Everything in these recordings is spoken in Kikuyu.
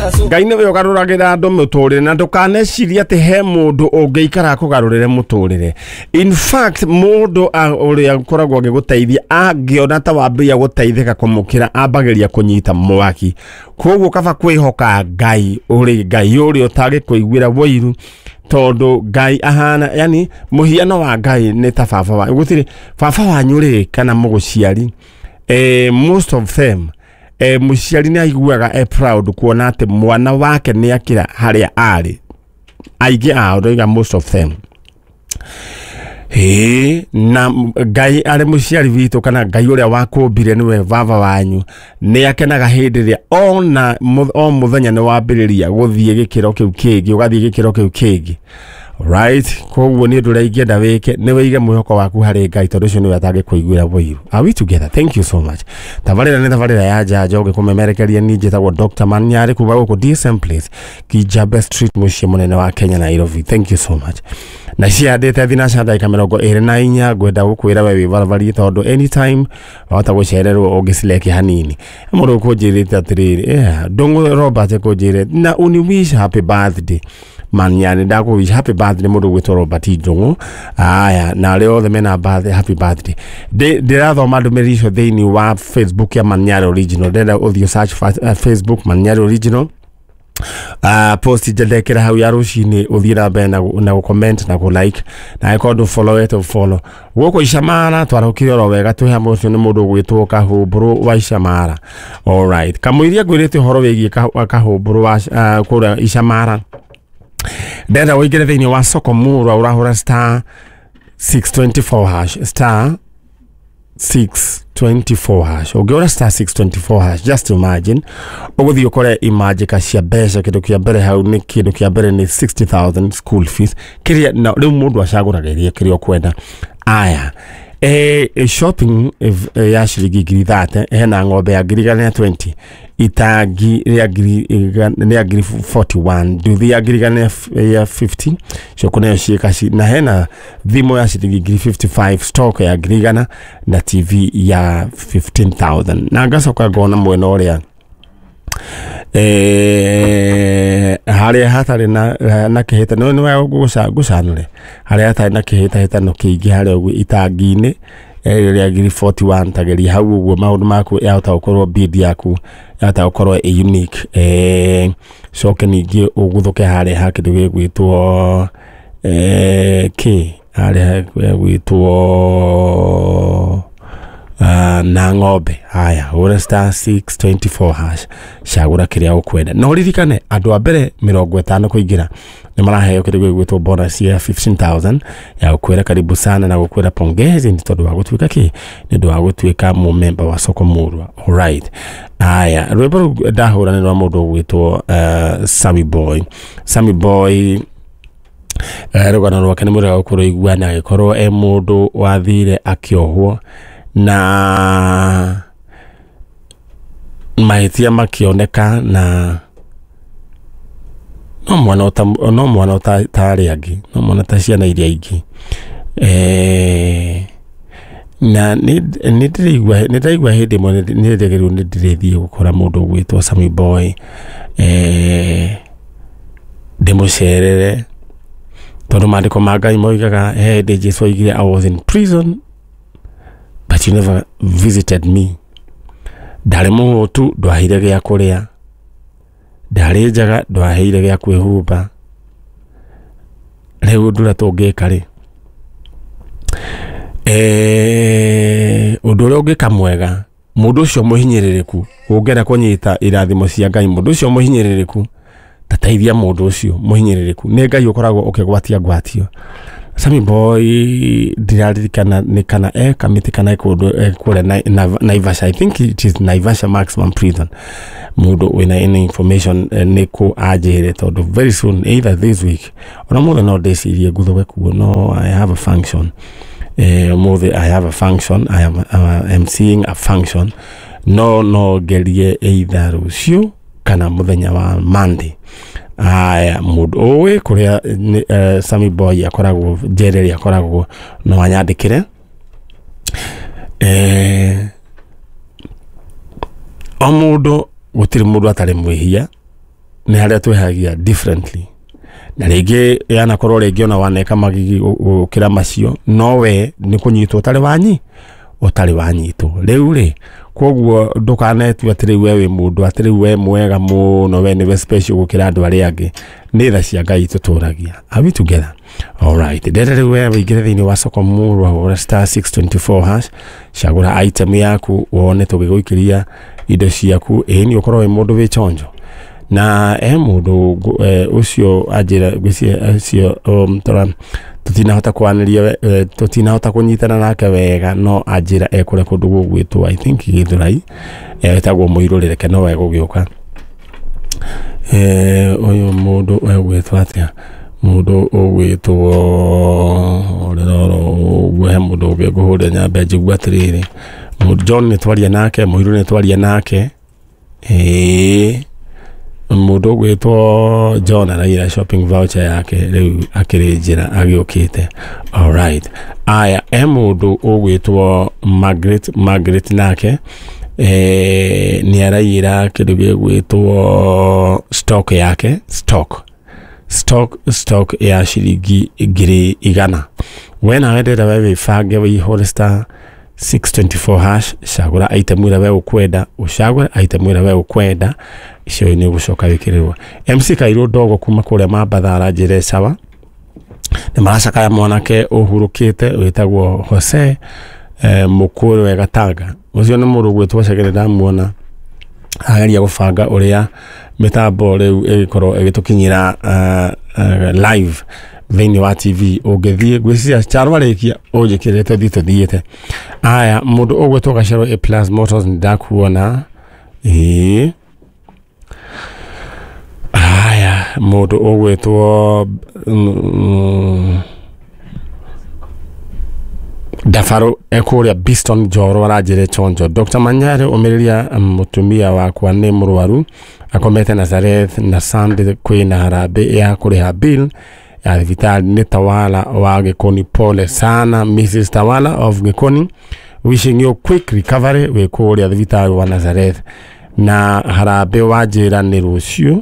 Ngai nĩwe ũgarũragĩra andũ mũtũrĩre, na ndũkanecirie atĩ he mũndũ ũngĩikara akũgarũrĩre mũtũrĩre. In fact, mũndũ ũrĩa ũkoragwo agĩgũteithia angĩona ta wambĩrĩria gũteithĩka kũmũkĩra, ambagĩrĩria kũnyita mwaki. Koguo kaba kwĩhoka Ngai, ũrĩ Ngai ũrĩa ũtangĩkũiguĩra wũiru, tondũ Ngai ahana, yani mũhiano wa Ngai nĩ ta baba wa gũtirĩ baba wanyu rĩ kana mũgũciari. Most of them, mũciari nĩ aiguaga e proud kuona atĩ mwana wake nĩ akĩra harĩa arĩ. Aingĩ ao, ndoiga most of them. Ĩĩ, na Ngai arĩ mũciari witũ, kana Ngai ũrĩa wakũmbire nĩwe baba wanyu, nĩ akenaga hĩndĩ ĩrĩa ona o mũthenya nĩ wambĩrĩria gũthiĩ gĩkĩro kĩu kĩngĩ, ũgathiĩ gĩkĩro kĩu kĩngĩ, right? Koguo nĩ ũndũ ũrĩa ingĩenda wĩke nĩ wĩige mwĩhoko waku harĩ Ngai, tondũ ũcio nĩwe atangĩkũiguĩra wũiru. Are we together? Thank you so much. Tabarĩra nĩ tabarĩra ya Njanjo ngĩkũmemerekeria. Niĩ njĩtagwo Dr. Manyarĩ kuma gũkũ DSM Place, Kijabe Street, mũciĩ mũnene wa Kenya, Nairobi. Thank you so much. Na ciandĩte thinaca ndagĩka 24. Ngwenda gũkwĩra we wĩ barabari, tondũ anytime wahota gũcererwo ũngĩcileke hanini. Mũndũ ũkũnjĩrĩte atĩrĩrĩ, yeah, Ndũng'ũ Robert kũnjĩrĩte na uni wish happy birthday Manyani. Ndakũ wish happy birthday, mũndũ ũgwĩtwo Robert Ndũng'ũ. Aya, na arĩa othe mena birthday, happy birthday. Ndĩrathoma ndũmĩrĩri icio thĩinĩ wa Facebook ya Manyari Original. Ndĩrenda ũthiĩ search Facebook Manyari Original, post njendekera hau ya rũcinĩ, ũthiĩ na mbere na gũ-comment na gũ-like, na angĩkorwo ndũ follow wete follow. Gũkũ Icamara twarahũkire oro wega, twĩ hamwe. Ũcio nĩ mũndũ ũgwĩtwo Kahũmbũrũ wa Icamara. Alright, kamũiria ngwĩrĩte ũhoro wĩgiĩ Kahũmbũrũ wa kũrĩa Icamara, ndenda ũingĩre thĩinĩ wa soko murwa, ũrahũra *624#, *624#. Ũngĩũra *624#, just imagine ũgũthiĩ ũkore imanjĩka cia mbeca. Kĩndũ kĩa mbere hau nĩ, kĩndũ kĩa mbere nĩ 60,000 school fees, kĩrĩa na rĩu mũndũ acagũraga iria kĩrĩa ũkwenda. Aya, shopping ya ciringi 30,000, hena ng'ombe ya 120,000, itangi rĩa rĩa 41,000, nduthi ya 150,000, coko nayo ciĩkaci, na hena thimũ ya ciringi 55,000, stock ya 100,000 na TV ya 15,000. Na ngacoka ngona mwena ũrĩa harĩa hatarĩ na kĩhĩtano, nĩ ngũcanũre harĩa hatarĩ na kĩhĩtahĩtano kĩingĩ, harĩa ũguo itangi-inĩ rĩa 41,000. Tageria hau ũguo, maũndũ maku yahota gũkorwo, bid yaku yahota gũkorwo ĩ unique. Coke ningĩ ũguthũke harĩa ha kĩndũ gĩgwĩtwo kĩ harĩa gĩgwĩtwo na ng'ombe. Haya, hũra *624#, cagũra kĩrĩa ũkwenda, na ũririkane andũ a mbere 50 kũingĩra nĩ maraheo kĩndũ gĩgwĩtwo bonus ya 15,000 ya gũkwĩra karibu sana na gũkwĩra pongezi nĩ tondũ wa gũtuĩka kĩ, nĩ ũndũ wa gũtuĩka mũmemba wa soko murwa. Alright, aya, rwĩmbo rũu ndahũra nĩ rwa mũndũ ũgwĩtwo Sammy Boy. Sammy Boy, rũgano rwake nĩ mũrega gũkũrũigua, na agĩkorwo e mũndũ wathire akĩohwo na mahĩtia makĩoneka, na no mwana ũta, no mwana ũta ta arĩa angĩ, no mwana ta ciana iria ingĩ. Na nĩ ndĩraigua, nĩ ndaigua hĩndĩ ĩmwe nĩ ndĩrĩgĩrĩirwo nĩ ndĩrĩthiĩ gũkora mũndũ ũgwĩtwo Sammy Boy, ndĩmũcerere, tondũ maandĩko ma Ngai moigaga he hĩndĩ Jesu oigire, "I was in prison but you never visited me." Ndarĩ mũhũtu, ndwaheire gĩa kũrĩa. Ndarĩ njaga, ndwaheire gĩa kwĩhumba. Rĩu ũndũ ũrĩa tũngĩka rĩ, ũndũ ũrĩa ũngĩka mwega, mũndũ ũcio mũhinyĩrĩrĩku, ũngĩenda kũnyita irathimo cia Ngai, mũndũ ũcio mũhinyĩrĩrĩku, tateithia mũndũ ũcio mũhinyĩrĩrĩku, nĩ Ngai ũkoragwo ũkĩgwatia ngwatio. Sammy Boy, ndiraririkana nĩ kana e Kamiti kana e kũndũ kũrĩa Naivasha. I think it is Naivasha Maximum Prison. Mũndũ wĩna any information, nĩ kũ anjĩre, tondũ very soon, either this week ona mũthĩ, no ndĩcirie nguthũke kuo. No I have a function mũthĩ. I have a function, I am MCing a function. No ngerie either rũciũ kana mũthenya wa Monday. Aya, mũndũ ũĩ kũrĩa Sammy Boy akoragwo, njera ĩrĩa akoragwo, no anyandĩkĩre. O mũndũ, gũtirĩ mũndũ atarĩ mwĩhia. Nĩ harĩa twĩhagia differently. Na rĩngĩ yanakorwo rĩngĩ ona waneka magigi gũkĩra macio, no we nĩ kũnyitwo ũtarĩ wanyi ũtarĩ wanyitwo. Rĩu rĩ, koguo ndũkanetue atĩ rĩu we wĩ mũndũ, atĩ rĩu we mwega mũno, we nĩwe special gũkĩra andũ arĩa angĩ. Nĩ tha cia Ngai tũtũragia. Are we together? Alright. Ndĩrenda rĩu we wĩingĩre thĩinĩ wa soko murwa, hũra *624#, cagũra item yaku, wone tũgĩgũikĩria indo ciaku. Ĩĩ nĩ ũkorwo wĩ mũndũ wĩ chonjo. Na he mũndũ ũcio anjĩra, ngwĩciria ũcio tũtinahota kwaranĩria, tũtinahota kũnyitana nake wega, no anjĩra ekũrĩa kũndũ gũgwĩtwo, I think, Gĩthũrai, etagwo Mũirũrĩ, reke no egũgĩũka. Ũyũ mũndũ egwĩtwo atĩa? Mũndũ ũgwĩtwo rĩroro ũguo, he mũndũ ũngĩ ngũhũrĩra nyambe njigue atĩrĩrĩ. John nĩ twaria nake, Mũirũ nĩ twaria nake. Ĩĩ, mũndũ ũgwĩtwo John araira shopping voucher yake, rĩu akĩrĩ njĩra agĩũkĩte. Alright. Aya, he mũndũ ũgwĩtwo Margaret. Margaret nake nĩ araiyĩra kĩndũ gĩgwĩtwo stock yake, stock ya ciringi 100,000. We nawe ndĩrenda we wĩbange, wĩihũre *624#, cagũra item ĩrĩa we ũkwenda, ũcagũre item ĩrĩa we ũkwenda, icio nĩ ũgũcoka wĩkĩrĩrwo. MC Kairũ Ndogo kuma kũrĩa Mambatha aranjĩra sawa, nĩ maracakaya mwanake ũhurũkĩte wĩtagwo Jose Mũkũrwe Gatanga. Ũcio nĩ mũndũ ũgwĩtwo Chegere, ndamuona ageria gũbanga ũrĩa mĩtambo rĩu ĩgĩkorwo ĩgĩtũkinyĩra live thĩinĩ wa TV. Ũngĩthiĩ, ngwĩciria Charo arĩkia ũnjĩkĩrĩte tũthiĩ tũthiĩte. Aya, mũndũ ũgwĩtwo Gacero A Plus Motors, nĩ ndakuona. Ĩĩ, aya, mũndũ ũgwĩtwo Ndabarũ ekũrĩa Biston Njoro aranjĩra chonjo. Dr. Manyare, ũmĩrĩria, mũtumia wakwa nĩ mũrwaru, akomete Nazareth, na Sunday kwĩna harambĩ ya kũrĩha bill ya thibitarĩ. Nĩ Tawala wa Gĩkoni. Pole sana, Mrs. Tawala of Gĩkoni, wishing you quick recovery wĩ kũrĩa thibitarĩ wa Nazareth. Na harambĩ wanjĩra nĩ rũciũ,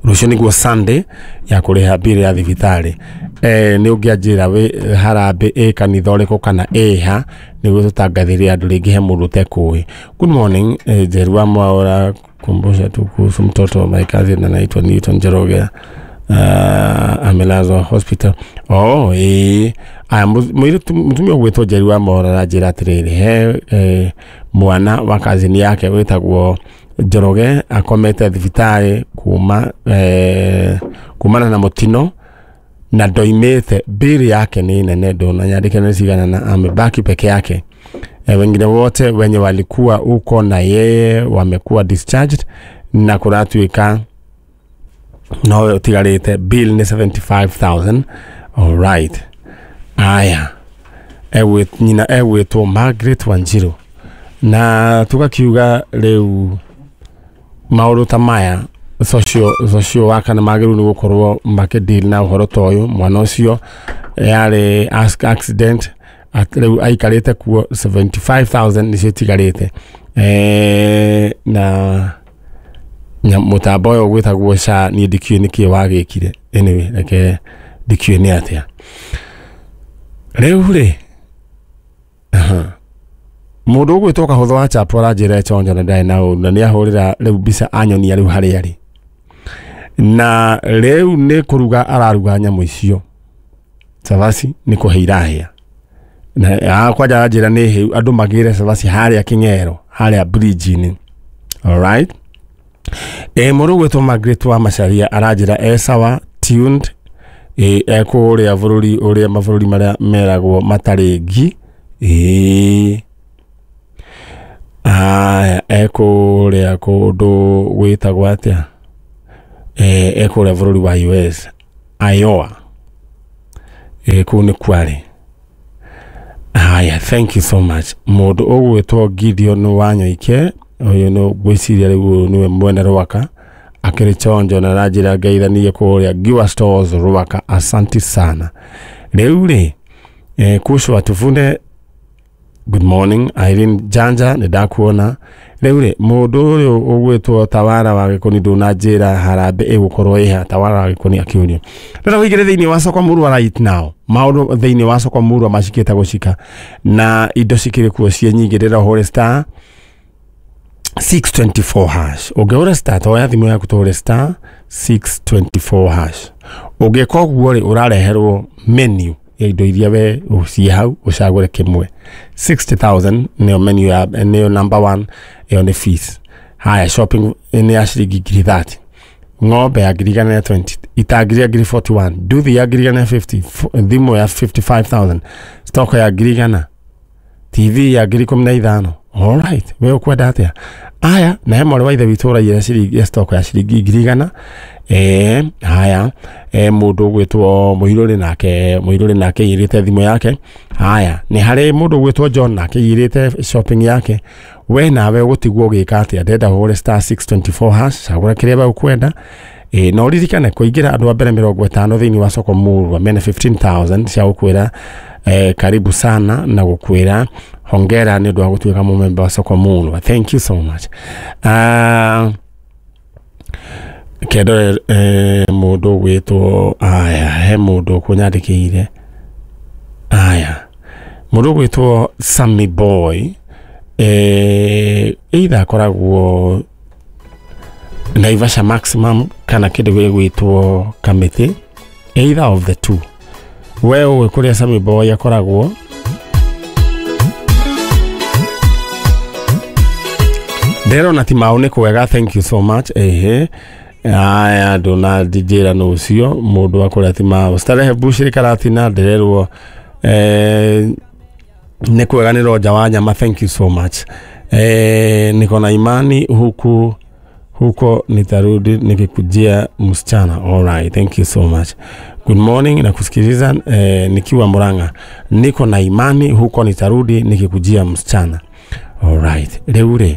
rũciũ nĩguo Sunday, ya kũrĩha bill ya thibitarĩ. Nĩ ũngĩanjĩra wĩ harambĩ ĩ kanitha ũrĩkũ kana ĩha, nĩguo tũtangathĩre andũ, rĩngĩ he mũndũ ũtekũĩ. Good morning, Njeru wa Mwaura, kumbusha tu kuhusu mtoto wa my cousin anaitwa Newton Njoroge, amelazwa hospital. Oh, ĩĩ. Aya, mũirĩtu, mũtumia ũgwĩtwo Njeri wa Mwaura aranjĩra atĩrĩrĩ, he mwana wa cousin yake wĩtagwo Njoroge akomete thibitarĩ kuma kumana na mũtino na ndoimĩte, bili yake ni nene, ndonanyandĩke nĩ cigana, na amebaki peke yake. Wengine wote wenye walikuwa huko na yeye wamekuwa discharged, na kũratuĩka nowe ũtigarĩte. Bill nĩ 75,000. Alright. Aya, nyina egwĩtwo Margaret Wanjiru, na tugakiuga rĩu maũndũ ta maya, social worker nĩ magĩrĩirwo nĩ gũkorwo makĩdeal na ũhoro ta ũyũ. Mwana ũcio yarĩ accident, rĩu aikarĩte kuo, 75,000 nĩcio itigarĩte. Na mũtambo ũyũ gwĩtagwo SHA, niĩ ndikĩũĩ nĩkĩĩ wagĩkire. Anyway, reke ndikĩũĩ nĩ atĩa rĩu rĩ. Mũndũ ũgwĩtwo Kahũthũ wa Chapo aranjĩra chonjo na ndarĩ na ũru, na nĩ ahũrĩra rĩu mbica anyonia rĩu harĩa arĩ, na rĩu nĩ kũruga araruga nyamũ icio, cabaci nĩ kũhĩa irahĩa, na kwanja aranjĩra nĩ hĩu, andũ magĩre cabaci harĩa Kĩng'ero, harĩa bridge-inĩ. Alright. Mũndũ ũgwĩtwo Margaret wa Macharia aranjĩra e sawa, tuned, ekũrĩa bũrũri ũrĩa mabũrũri marĩa meragwo matarĩ ngi. Ĩĩ, aya, ekũrĩa kũndũ gwĩtagwo atĩa, ekũrĩa bũrũri wa US, Iowa, kũu nĩ kwarĩ. Haya, thank you so much. Mũndũ ũgwĩtwo Gideon Wanyoike, ũyũ nĩ ngwĩciria rĩu ũyũ nĩwe mwene Rwaka, akĩrĩ chonjo na aranjĩra ngeithanie kũrĩa Giwa Stores Rwaka. Asanti sana. Rĩu rĩ, kuhusu watuvune. Good morning Irene Janja, nĩ ndakuona. Rĩu rĩ, mũndũ ũyũ ũgwĩtwo Tawara wa Gĩkũni ndũnanjĩra harambĩ ĩgũkorwo ĩha. Tawara wa Gĩkũni akĩũrio rĩrĩa ũingĩre thĩinĩ wa soko murwa right now, maũndũ thĩinĩ wa soko murwa macikĩte gũcika na indo cikĩrĩ kuo ciĩ nyingĩ. Rĩrĩa ũhũre star 624 hash, ũngĩhũra star, toya thimũ yaku tũhũre star 624 hash. Ũngĩka ũguo rĩ, ũrareherwo menu ya indo iria we ciĩ hau, ũcagũre kĩmwe. 60,000 nĩyo menu ya nĩyo number 1, ĩyo nĩ fees. Haya, shopping nĩ ya ciringi ngiri 30, ng'ombe ya 120,000, itangi rĩa 41,000, nduthi ya 150,000, thimũ ya 55,000, stock ya 100,000, TV ya 15,000. Alright, we ũkwenda atĩa? Aya, na he mwarĩ wa ithe witũ ũraiyĩra ciringi ya stock ya ciringi 100,000. Haya, mũndũ ũgwĩtwo Mũirũrĩ nake, Mũirũrĩ nake aiyĩrĩte thimũ yake. Haya, nĩ harĩ mũndũ ũgwĩtwo John nake aiyĩrĩte shopping yake. We nawe ũgũtigwo ũgĩka atĩa? Ndenda ũhũre star 624 hash, cagũra kĩrĩa we ũkwenda. Na ũririkane kũingĩra andũ a mbere 50 thĩinĩ wa soko murwa mena 15,000 cia gũkwĩra karibu sana na gũkwĩra hongera nĩ ũndũ wa gũtuĩka mũmemba wa soko murwa. Thank you so much. Kendore mũndũ ũgwĩtwo, aya, he mũndũ ũkũnyandĩkĩire. Aya, mũndũ ũgwĩtwo Sammy Boy, either akoragwo Naivasha Maximum kana kĩndũ gĩgwĩtwo Kamĩtĩ, either of the two. We ũĩ kũrĩa Sammy Boy akoragwo? Ndĩrona ti mau nĩ kwega. Thank you so much. Ehe, aya, ndũnanjĩra nũ ũcio mũndũ wa kũrĩa ti mau. Starehe Bushiri Karatina, ndĩrerwo nĩ kwega, nĩ Roja wa nyama. Thank you so much. Niko na imani huku huko nitarudi nikikujia msichana. Alright, thank you so much. Good morning, nakusikiliza nikiwa Murang'a. Niko na imani huko nitarudi nikikujia msichana. Alright, rĩu rĩ